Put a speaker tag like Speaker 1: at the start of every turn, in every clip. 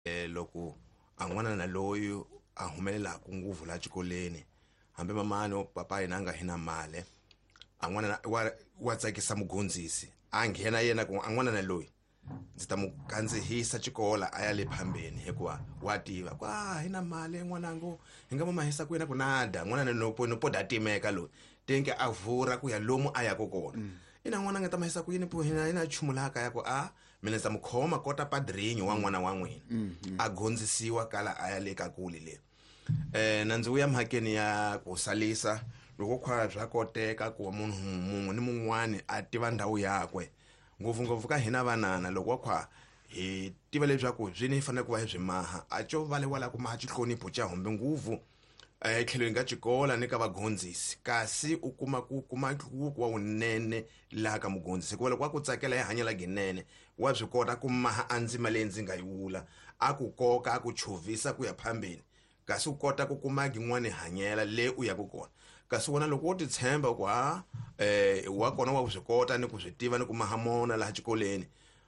Speaker 1: Loko a n'wana na loyi a humelelaku nguvu la xikolweni hambi mamani o papa yena a nga hi na mali a n'wana wa tsakisa mugondzisi a nghena yena ku a n'wana na loyi ndzi ta mu kandzihisa xikola a ya le phambeni hikuva wa tiva ku a hi na mali n'wanangu hi nga mu mahisa ku yena ku nada n'wana na no no poda timeka loyi tenke a vura ku ya lomu a yaka kona. Ina n'wana nga ta mahisa ku yini po hina hina nchumu laha kaya ku a mina ndzi ta mu khoma kota padrinho wa n'wana wa n'wina. A gondzisiwa kala a ya le ka kule le. Na ndzi vuya mhakeni ya ku salisa loko khwa swa koteka ku munhu mun'we ni mun'wani a tiva ndhawu yakwe ngopfungopfu ka hina vanana loko wa khwa hi tiva leswaku byi ni fanele ku va hi byi maha a co va le wala ku maha xihlonipho xa humbe nguvu etlhelweni ka xikola ni ka vagondzisi kasi u kuma ku kuma nhluvuko wa wunene laha ka mugondzisi hikuva loko a ku tsakela hi hanya la ginene wa swi kota ku maha a ndzima leyi ndzi nga yi vula a ku koka a ku chovhisa ku ya phambeni kasi u kota ku kuma yin'wani hanyela le u yaka kona kasi wena loko wo ti tshemba ku ha wa kona wa swi kota ni ku swi tiva ni ku maha mona laha xikolweni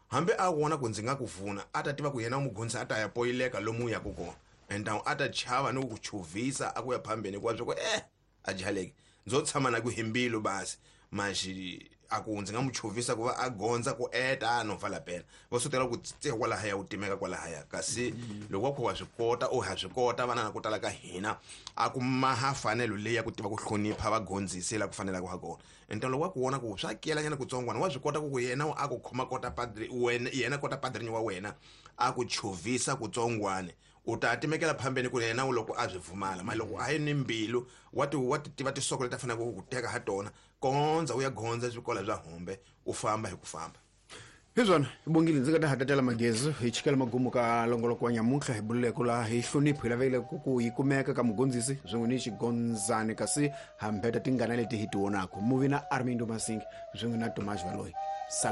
Speaker 1: hambi a vona ku ndzi nga ku pfuna a ta tiva ku yena mugondzisi a ta ya poyileka lomu u yaka kona and a ta chava ni ku ku chovhisa a ku ya phambeni hikuva swa ku a jaleki ndzo tshama na ku hi mbilu basi manjhe a ku ndzi nga mu chovhisa ku va a gondza ku eta no pfala pela va swi ku tse kwalahaya u timeka kwalahaya kasi loko wa kha wa swi kota u ha swi kota vana na ku tala ka hina a ku maha fanelo leyi ya ku tiva ku hlonipha vagondzisi la ku fanelaka ha kona. Ente loko wa ku vona ku swa kelanyana kutsongwana wa swi kota ku ku yena a ku khoma kota padre wena yena kota padrinho wa wena a ku chovhisa kutsongwane u ta timekela phambeni ku yena loko a byi pfumala mali loko a yi ni mbilu wa ti wa ti tiva tisoko leti a faneleke ku ku teka ha tona kondza u ya gondza swikola bya humbe u famba hi ku famba.
Speaker 2: Hi swona bongile ndzi nga ta hatatela magezi hi chikela magumu ka longoloko wa nyamuntlha hi bululeko laha hi hlonipho hi lavekile ku yi kumeka ka mugondzisi swin'we ni xigondzani kasi hambeta tingana leti hi ti vonaka muvi na Armindo Masingi swin'we na Tomas Valoyi. Sala.